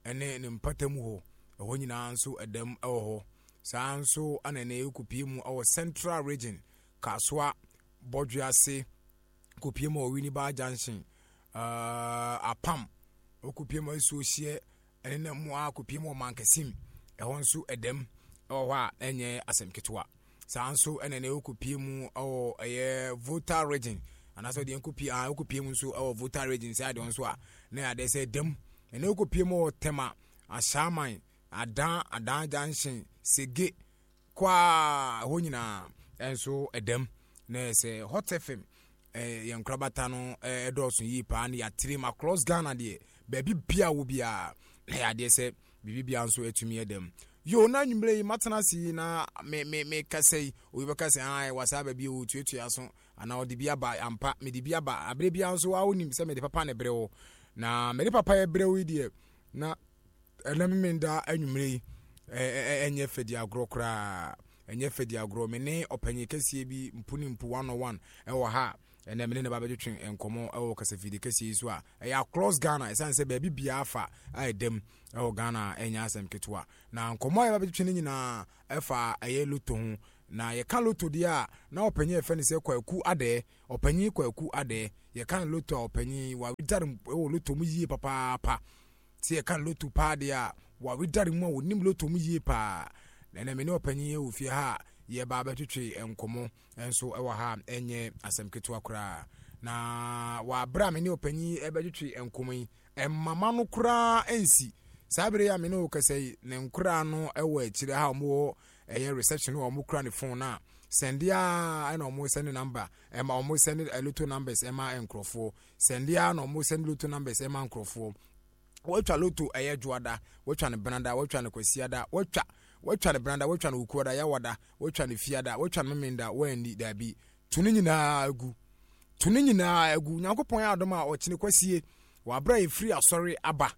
ɛne ne mpatamu hɔ, ɛhɔ nyinaa nso ɛdɛm ɛwɔ hɔ. Saa nso ana ɛnɛ wokɔpie mu ɛwɔ Central Region, Kasoa, Bɔdwease, kɔpie mu wɔ Winneba Junction, uh, Apam, wokɔpie mu asuo hyeɛ ɛne na mu a kɔpie mu wɔ Mankasim, ɛhɔ nso ɛdɛm ɛwɔ hɔ a ɛnyɛ asɛm ketewa. Saa nso ɛna ɛnɛ wokɔpie mu ɛwɔ ɛyɛ Volta Region, anaasɛ deɛ nkɔpie ah, wokɔpie mu nso ɛwɔ Volta Region sɛ adeɛ nso a na yɛ adeɛ sɛ ɛdɛm. Ɛnɛ wokɔpie mu wɔ Tema, Ahyɛaman, Adan Adan Junction, Sege kwaa, ɛhɔ nyinaa ɛnso ɛdɛm. Na sɛ Hot F M ɛɛ yɛn nkorabata no ɛdɔɔso yie paa ne yɛatere mu across Ghana deɛ, baabi bia wɔ biara na yɛ adeɛ sɛ biribi bia nso atumi ɛdɛm. Yo, na anwummerɛ yi matena ase yi na me me me kasa yi, obi bɛka sɛ ah wɔ saa baabi o tuatua so anaa ɔde bi aba. Ampa, mede bi aba. Aberɛ biara nso wa wonim sɛ mede papa ne brɛ wo, na mede papa yɛ brɛ wo yi deɛ, na ɛnɛ memenda anwummerɛ yi ɛnyɛ fɛdi agorɔ koraa, ɛnyɛ fɛdi agorɔ. Me ne ɔpanyin kɛseɛ bi mpu ne mpu one on one ɛwɔ ha. Ɛnɛ me ne ne ba bɛtwetwe nkɔmmɔ ɛwɔ kasafidie kɛseɛ yi so a ɛyɛ across Ghana, ɛsiane sɛ baabi biara fa a ɛdam ɛwɔ Ghana, ɛnyɛ asɛm ketewa. Na nkɔmmɔ a yɛba bɛtwetwe no nyinaa ɛfa ɛyɛ lotto ho. Na yɛka lotto deɛ a, na ɔpanyin a yɛfrɛ no sɛ Kwaku Adɛɛ, ɔpanyin Kwaku Adɛɛ. Yɛka no lotto a, ɔpanyin wawedare ɛwɔ lotto mu yie papaapa. Sɛ yɛka lotto paa deɛ a, wawedare mu a wɔnim lotto mu yie paa. Na ɛnɛ me ne ɔpanyin wɔ fie ha a yɛba abɛtwetwe nkɔmmɔ nso ɛwɔ ha, ɛnyɛ asɛm ketewa koraa. Na wɔ a me ne ɔpanyin ɛbɛtwetwe nkɔmmɔ yi, ɛmama no koraa nsi saa bere a me ne wo kasa yi, ne nkoraa no ɛwɔ akyire ha a wɔwɔ ɛyɛ reception wɔ wɔn kura ne phone na sɛnde a ɛna wɔn send number ɛma wɔn send lotto numbers ɛma nkurɔfoɔ, sɛnde a na wɔn send lotto numbers ɛma nkurɔfoɔ. Wɔatwa lotto ɛyɛ dwoada, wɔatwa no benada, wɔatwa no kwasiada, wɔatwa wɔatwa no benada, wɔatwa no okuada, yawada, wɔatwa no fiada, wɔatwa no memenda, wɔanni daabi. To ne nyinaa agu, to ne nyinaa agu. Nyankopɔn yɛ adom a, ɔkyene kwasie wɔ abere a yɛfiri asɔre aba,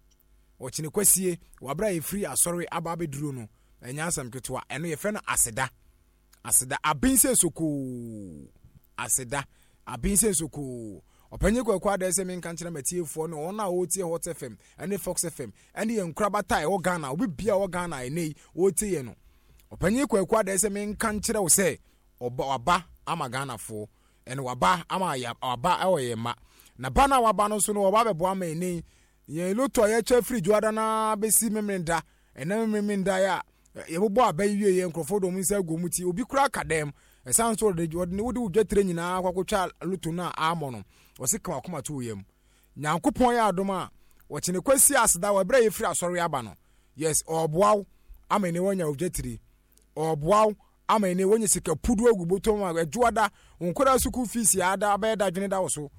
ɔkyene kwasie wɔ abere a yɛfiri asɔre aba abɛduro no, ɛnyɛ asɛm ketewa. Ɛno yɛfrɛ no aseda, aseda aben sɛ sokoo, aseda aben sɛ sokoo. Ɔpanyin Kwaku Adɛ sɛ menka nkyerɛ matiefoɔ ne wɔn a wɔretie Hot F M ɛne Fox F M ɛne yɛn nkorabata a ɛwɔ Ghana, obi bia ɛwɔ Ghana ɛnɛ yi wɔretie yɛn no, ɔpanyin Kwaku Adɛ sɛ menka nkyerɛ wo sɛ ɔba waba ama Ghanafoɔ, ɛne waba ama yɛ, waba ɛwɔ yɛn mma. Na ba no a waba no nso no, ɔba abɛboa ama ɛnɛ yi yɛn lotto a yɛkyɛ firi dwoada na bɛsi memenda. Ɛnɛ memenda yɛ a yɛbobɔ aba yi wie yɛ, nkurɔfoɔ de wɔn nsa agu wɔn ti, obi kura ka dɛm ɛsan so ɔde ɔde ne wode wo dwetire nyinaa akɔ akɔtwa lotto no a amɔ no, ɔsi ka wakoma to yam. Nyankopɔn yɛ adom a, wɔkyene kwasi aseda wɔ ɛberɛ a yɛfiri asɔre aba no. Yes, ɔɔboa wo ama ɛnɛ wanya wo dwetire, ɔɔboa wo ama ɛnɛ wanya sika pudu agu bɔtɔm a ɛdwoada wo nkwadaa sukuu fees ada abɛyɛ dadwene da wo so.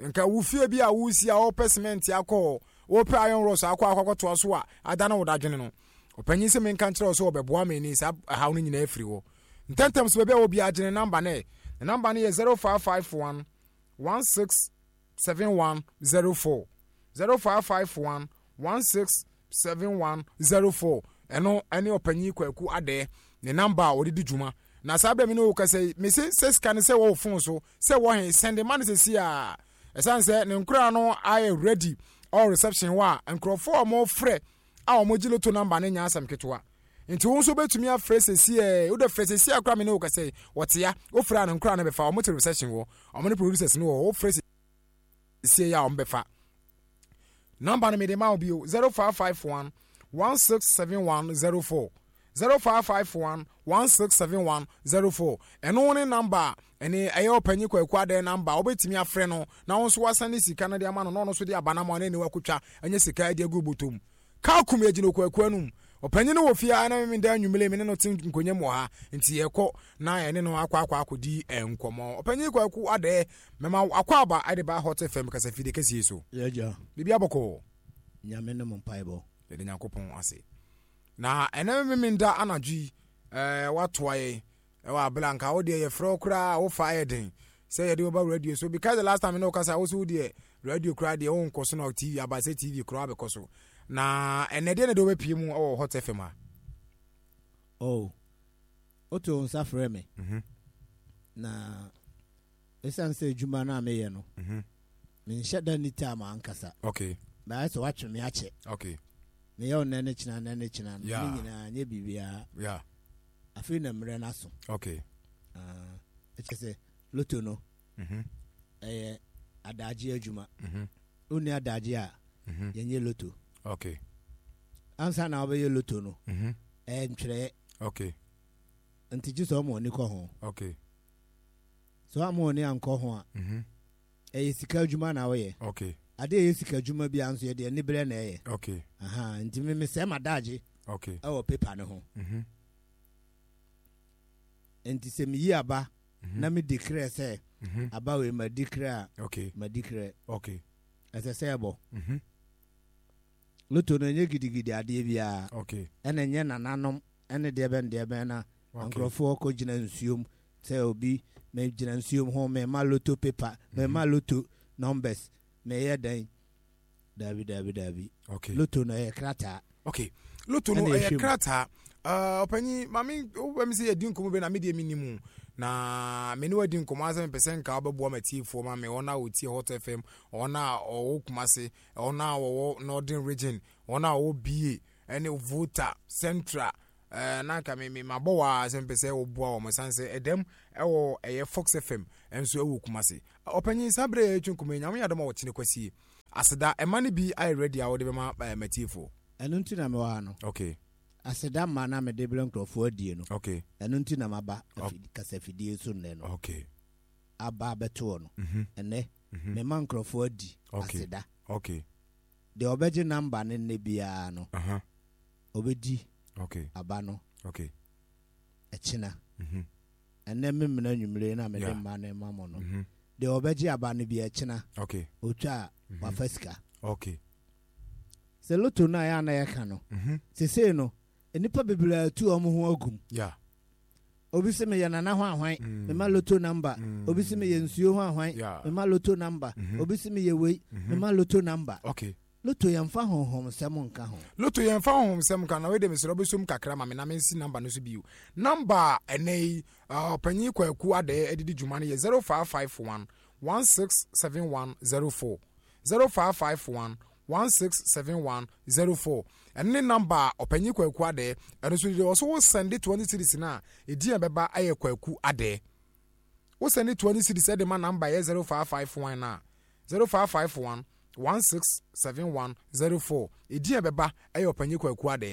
Nka wo fie bi a wosi a wɔpɛ cement akɔ, wɔpɛ iron rods akɔ akɔ akɔtoa so a ada na wo dadwene no, ɔpanyin sɛ menka nkyerɛ wo sɛ ɔbɛboa me ni saa ɛhaw no nyinaa afiri hɔ ntɛntɛm so. Baabi a wɔbi agyene number no, ne number no yɛ zero five five one one six seven one zero four, zero five five one one six seven one zero four. Ɛno ɛne ɔpanyin Kwaku Adɛɛ ne number a ɔde di dwuma. Na saa bɛrɛ mi ne wo kasa yi, mese sɛ sika no sɛ wɔwɔ phone so sɛ wɔhe sɛnde ma no sɛsi a, ɛsiane sɛ ne nkora no ayɛ ready ɔwɔ reception hɔ a, nkurɔfoɔ a wɔfrɛ a wɔgye lotto number no nya asɛm ketewa. Nti wo nso wobɛtumi afrɛ sɛsi ɛ, wode frɛ sɛsi a kora me ne wo kasa yi, wɔtea wofrɛ a, ne nkora no bɛfa. Wɔn te reception hɔ, wɔn ne producers no wɔ hɔ. Wofrɛ sɛsi yɛ a, wɔn bɛfa number no. Mede ma wo bio: zero five five one one six seven one zero four, zero five five one one six seven one zero four. Ɛno ne number a ɛne ɛyɛ ɔpanyin Kwaku Adɛ number a wobɛtumi afrɛ no na wo nso wasane sika no de ama no, na ɔno nso de aba no ama no, ne wakotwa ɛnyɛ sika de agu bɔtɔm. Kaa kum yɛgyina Kwaku anum. Ɔpanyin no wɔ fie a na meda anwummere me ne no te nkonnwa mu wɔ ha, nti yɛkɔ na yɛne no akɔ akɔ akɔdi nkɔmmɔ. Ɔpanyin Kwaku Adɛ, mɛma akɔ aba ɛde ba Hot F M kasafide kɛseɛ so. Yɛgya. Biribi abɔkɔɔ? Nyame no mo mpaebɔ. Yɛde Nyankopɔn ase. Na ɛnɛ memenda anadwo yi ɛɛ watoa yɛn ɛwɔ abela nka wo deɛ yɛfrɛ wo koraa a wofa ayɛ den sɛ yɛde woba radio so, because the last time ne wokasa, wo so wo deɛ radio koraa deɛ wonkɔ so na T V aba sɛ T V koraa bɛkɔ so. Na ɛnɛ deɛ ne de wobɛpie mu ɛwɔ Hot F M a? Oh, woto wo nsa frɛ me Mhm, na ɛsiane sɛ adwuma no a meyɛ no, mhm. menhyɛ da ni time ankasa. Okay baayɛ sɛ woatwe me akyɛ. Okay meyɛ wo nnɛ ne kyena, nnɛ ne kyena no Yeah. ne nyinaa nyɛ biribiara. Yeah afei na mmerɛ no aso. Okay Ah, ɛkyɛ sɛ lotto no Mhm, ɛyɛ adagye adwuma. mhm, Wonni adagye a, mhm. yɛnyɛ lotto. Okay ansa na wobɛyɛ lotto no, Mhm, ɛyɛ ntwerɛeɛ. Okay nti gye sɛ ɔma ɔni kɔ ho. Okay sɛ ɔma ɔni ankɔ ho a, Mhm, ɛyɛ sika adwuma na woyɛ. Okay ade a ɛyɛ sika adwuma bi nso, yɛde ani berɛ na ɛyɛ. Okay. Aha, nti me mesɛe m'adagye Okay. ɛwɔ paper no ho. Mhm. Nti sɛ meyi aba Mhm. na medi krɛ sɛ Mhm. aba wei madi krɛ a, Okay. madi krɛ. Okay. Ɛsɛ sɛ ɛbɔ. Mhm. Loto no ɛnyɛ gidigidi adeɛ biara. Okay. Ɛna ɛnyɛ nananom ɛne deɛ bɛn deɛ bɛn na Okay. nkurɔfoɔ kɔgyina nsuom sɛ obi megyina nsuom ho, mema loto paper, mema loto numbers, meyɛ dɛn. Daabi, daabi, daabi. Okay. Loto no ɛyɛ krataa. Okay, loto no ɛna ɛyɛ ɛhwɛ mu. Krataa. Uh, ɔpanyin maame, wobɛ mi sɛ yɛdi nkɔmmɔ bi na me deɛ menim na me ne wadi nkɔmmɔ asɛ mepɛ sɛ nka wobɛboa matiefoɔ ma me, wɔn a wɔtie Hot F M, wɔn a ɔwɔ Kumase, wɔn a wɔwɔ Northern Region, wɔn a wɔwɔ Bia ɛne Volta, Central, uh, na nka me me mabɔ wɔ a sɛ mepɛ sɛ woboa wɔn, ɛsiane sɛ ɛdɛm ɛwɔ ɛyɛ Fox F M nso ɛwɔ Kumase. Ɔpanyin, saa berɛ yɛ yɛtwe nkɔmmɔ yi, Nyame yɛ adom a wɔkyene kwasie aseda ɛma no bi ayɛ ready a wode bɛma uh, matiefoɔ. Ɛno nti na mewɔ ha no. Okay aseda ma na mede brɛ nkurɔfoɔ adie no, okay ɛno nti na maba afi- kasafidie so nnɛ no. Okay aba abɛtoɔ no Mhm. ɛnɛ, mema nkurɔfoɔ adi Okay. aseda. Okay deɛ ɔbɛgye number no nnɛ biara no, uh-huh. ɔbɛdi okay aba no okay ɛkyena. Mhm. Ɛnɛ memena anwummere na mede Yeah. mma no ma mo no. Mhm. Deɛ ɔbɛgye aba no bi ɛkyena, okay ɔtwa a, wafa sika. Okay sɛ loto no a yɛ ana yɛka no, Mhm. sesei no nnipa bebree atu ɔmo ho agum. Yeah obi sɛ meyɛ nana ho ahwan, Mm. mema loto number. Mm. Obi sɛ meyɛ nsuo ho ahwan, Yeah. mema loto number. Mhm. Obi sɛ meyɛ wei, Mhm. mema loto number. Okay loto yɛmfa honhom sɛm nka ho. Loto yɛmfa honhom sɛm ka na wei de, mesrɛ wobɛsom kakra ma me na mensi number no so bio. Number a ɛnɛ yi uh, ɔpanyin Kwaku Adɛɛ adidi dwuma no yɛ zero five five one one six seven one zero four, zero five five one one six seven one zero four. Ɛno ne number a ɔpanyin Kwaku Adɛɛ ɛno nso deɛ ɔso wo send twenty cedis no a, ɛdin a ɛbɛba ayɛ Kwaku Adɛɛ. Wo send twenty cedis ɛde ma number yɛ zero five five one a, zero five five one one six seven one zero four, ɛdin a ɛbɛba ɛyɛ ɔpanyin Kwaku Adɛɛ.